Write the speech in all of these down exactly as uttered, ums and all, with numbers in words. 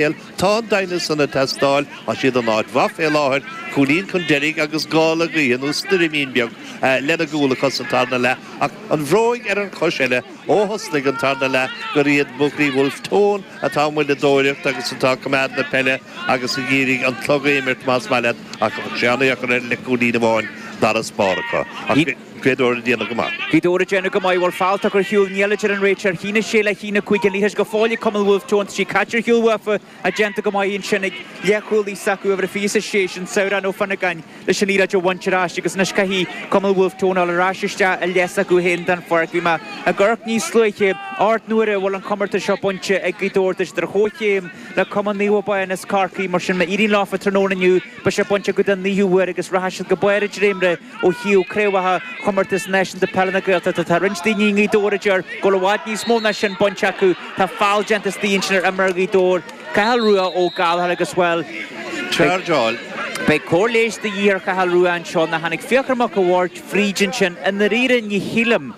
Tá an deimhneas san ag teastáil, tá siad in áit mhaith fé láthair, cúilín chun deiridh agus gála gaoithe nó stoirmín beag lena gcúl acu sa tarna leath. Ach an bhróig ar an chois eile, ó thosnaigh an tarna leath gur iad buachaillí Bhulf Tón atá ag moilleadóireacht agus atá ag coimeád na peile agus ag iarraidh an clog a imirt más maith leat ach bheadh sé an-dheacair ar le cúilín amháin d'fharasbarr acu. Ach Gaoth Dobhair ag déanamh go maith. Gaoth Dobhair ag déanamh go maith. Bhuel, feall tugtha ar shiúl, níl a deir an réiteoir. A haon a sé le haon a cúig an liathróid go fóill ag Cumann Bhulf Tón. Tá sí caite ar shiúl uafa ach déanta go maith ansin ag leathchúlaí s'acu, uimhir a fiche is a sé, sin Sabhrán Ó Fionnagáin, leis an liathróid a bhaint ar ais agus anois caithfidh Cumann Bhulf Tón a dhul ar ais isteach i leath s'acu féin den pháirc. Bhí mé ag amharc níos luaithe, ocht n-uaire a bhfuil an comórtas seo bainte ag Gaoth Dobhair. Tá siad ar chomhchéim le Cumann Naomh Abán as Corcaigh, mar sin má éiríonn leofa tráthnóna inniu beidh sé bainte acu den naoú huair agus rachaidh siad go barr a dréimire ó thaobh craobhacha Chomórtas Náisiúnta Peile na Gaeltachta. Tá roinnt daoine i nGaoth Dobhair a deir go bhfuil i bhfad níos mó ná sin bainte acu. Tá feall déanta istigh ansin ar imreoir Ghaoth Dobhair, Cathal Rua Ó Gallchóir agus, bhuel, Chargeáil. beidh cóir leighis de dhíth ar Chathal Rua anseo. Nó tháinig Fiachra Mac a' Bhaird fríd ansin. I ndáiríre ní shílim,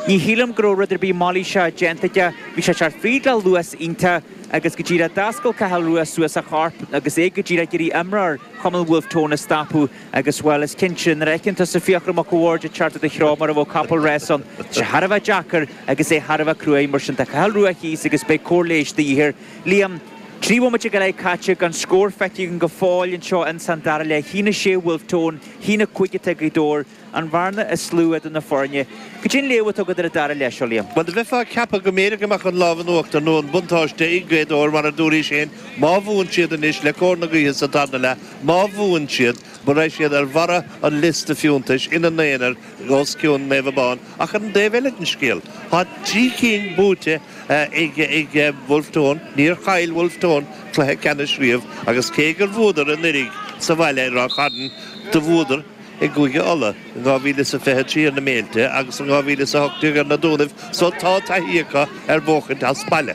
ní shílim go raibh rud ar bith mailíseach déanta aige. Bhí sé ag teacht fríd le luas iontach agus go díreach d'oscail Cathal Rua suas a chorp agus é go díreach ag iarraidh imreoir Chumann Bhulf Tón a stopadh agus, bhuel, is cinnte, nuair a fheiceann tusa Fiachra Mac a' Bhaird ag teacht i do threo mar a bheadh capall ráis ann, tá sé thar a bheith deacair agus é thar a bheith cruaidh. Mar sin, tá Cathal Rua thíos agus beidh cóir leighis de dhíth air. Liam, Trí bhomaite go leith caite gan scór feicthe againn go fóill anseo ins an dara leath. A haon a sé Bhulf Tón, a haon a cúig atá ag Gaoth Dobhair, an bhearna is lú idir na foirne. Cad é an léamh atá agat ar an dara leath seo, Liam? Bhuel, do bheifeá ag ceapadh go mb'fhéidir go mbeadh an lámh in uachtar nó an buntáiste ag Gaoth Dobhair mar a dúraís féin, má bhuann siad anois le cóir na gaoithe sa tarna leath, má bhuann siad, beidh siad ar bharra an liosta fiúntais ina n-aonar os cionn Naomh Abán. Ach ar an dtaobh eile den scéal, tá trí cinn buaite ag Bhulf Tón. Níor chaill Bhulf Tón cluiche ceannais riamh agus cé gur bhuadar anuraidh sa bhaile ar Ráth Chairn, do bhuadar i gCúige Uladh in dhá mhíle is a fiche trí ar na Méilte agus in dhá mhíle is a hocht déag ar na Dúnaibh so tá taithí acu ar bhuachaint as baile.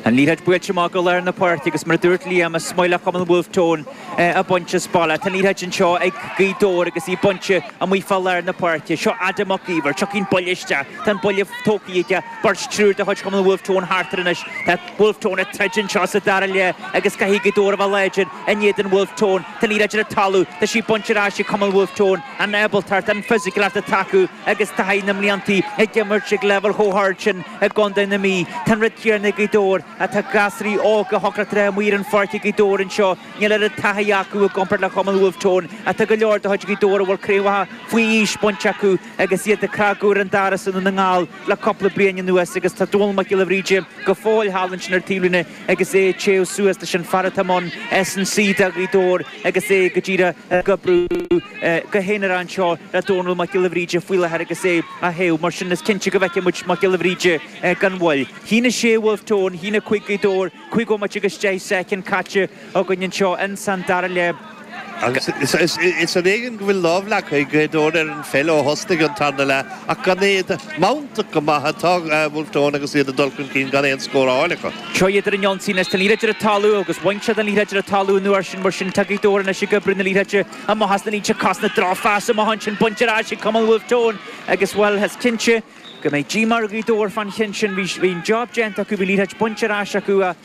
An liathróid buailte amach go lár na páirce agus mar a dúirt Liam, is maith le Cumann Bhulf Tón é a bhaint as baile. Tá an liathróid anseo ag Gaoth Dobhair agus í bainte amuigh fá lár na páirce. Seo Adam Mac Íomhair. Tiocfaidh an buille isteach. Tá an buille tógtha aige. Beirt, triúr de chuid Chumann Bhulf Tón thart air anois. Tá Bhulf Tón ag troid anseo sa dara leath agus caithfidh Gaoth Dobhair a bheith láidir in éadan Bhulf Tón. Tá an liathróid ar an talamh. Tá sí bainte ar ais ag Cumann Bhulf Tón. An ábaltacht, an fisiciúlacht atá acu agus taithí na mblianta ag imirt ag leibhéal chomh hard sin i gContae na Mí. Tá an rud céanna ag Gaoth Dobhair. Tá gasraí óga a thiocfadh le amuigh ar an pháirc ag Gaoth Dobhair anseo. Níl oiread taithí acu i gcomparáid le Cumann Bhulf Tón. Tá go leor de chuid Ghaoth Dobhair a bhfuil craobhacha faoi aois bainte acu agus iad ag cnagadh ar an doras i nDún na nGall le cúpla bliain anuas agus tá Dónal Mac Giolla Bhríde go fóill thall ansin ar taobhlíne agus é ag téamh suas leis an fear atá i mbun S and C do Ghaoth Dobhair agus é go díreach ag oibriú go haonarach anseo le Dónal Mac Giolla Bhríde faoi láthair agus é á théamh. Mar sin is cinnte go bhfeicfidh muid Mac Giolla Bhríde gan mhoill. A haon a sé Bhulf Tón, a haon a cúig Gaoth Dobhair, cúig bhomaite agus deich soicind caite againn anseo ins an dara leath. Agus is ar éigean go bhfuil lámh leagtha ag Gaoth Dobhair ar an pheil ó thosnaigh an tarna leath ach gan iad mantach go maith atá Bhulf Tón agus iad ag dul chun cinn gan aon scór á fháil acu. Seo iad ar an ionsaí anois. Tá an liathróid ar an talamh agus bhain siad an liathróid ar an talamh an uair sin. Mar sin tá Gaoth Dobhair anois ag oibriú na liathróide amach as na línte cosanta. Drochphas amach ansin bainte ar ais ag Cumann Bhulf Tón agus, bhuel, is cinnte go mbeidh díomá ar Ghaoth Dobhair fán cheann sin. Bhí an job déanta acu, bhí liathróid bainte ar ais acu ach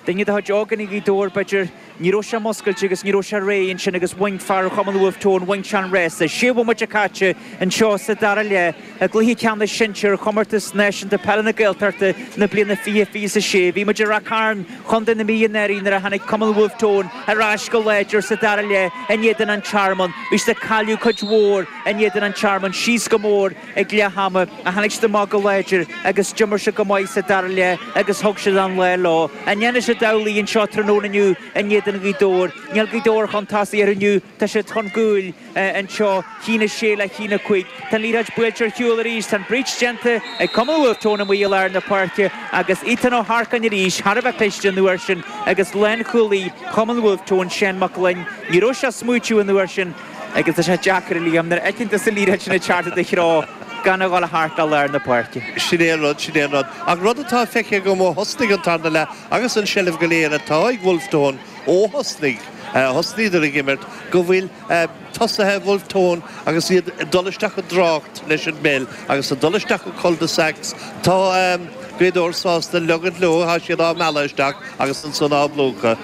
duine de chuid ógánaigh Ghaoth Dobhair, b'fhéidir, ní raibh sé muscailte agus ní raibh sé réidh ansin agus bhain fear Chumann Bhulf Tón, bhain sé an rása. Sé bhomaite caite anseo sa dara leath i gcluiche ceannais sinsir Chomórtas Náisiúnta Peile na Gaeltachta na bliana fiche fiche a sé. Bhí muid i Ráth Cairn, Chontae na Mí anuraidh nuair a tháinig Cumann Bhulf Tón ar ais go láidir sa dara leath in éadan An Tearmann. Bhí siad ag cailleadh cuid mhór in éadan An Tearmann, síos go mór ag leath ama ach tháinig siad amach go láidir agus d'imir siad go maith sa dara leath agus thug siad an lá leo. An ndéanfaidh siad amhlaidh anseo tráthnóna inniu in éadan Ghaoth Dobhair? Níl Gaoth Dobhair chun tosaigh orthu inniu, tá siad chun cúil anseo, a haon a sé le a haon a cúig. Tá an liathróid buailte ar shiúl arís, tá an breach déanta ag Cumann Bhulf Tón amuigh i lár na páirce agus Ethan Ó hEarcáin arís, thar a bheith cliste an uair sin agus lánchúlaí Chumann Bhulf Tón, Seán Mac Gloinn, ní raibh sé ag smaoitiú an uair sin. Agus tá sé deacair, a Liam, nuair a fheiceann tusa an liathróid sin ag teacht i do threo gan a dhul thart le lár na páirce. Sin é an rud, sin é an rud. Ach rud atá feicthe agam ó thosnaigh an tarna leath agus an seilbh go léir atá ag Bhulf Tón ó thosnaigh, thosnaíodar ag imirt, go bhfuil tosaithe Bhulf Tón agus iad ag dul isteach i dtrácht leis an bpeil agus ag dul isteach i cul-de-sacs, tá Gaoth Dobhair sásta leigint leo tá siad á mealladh isteach agus ansan á bplúchadh.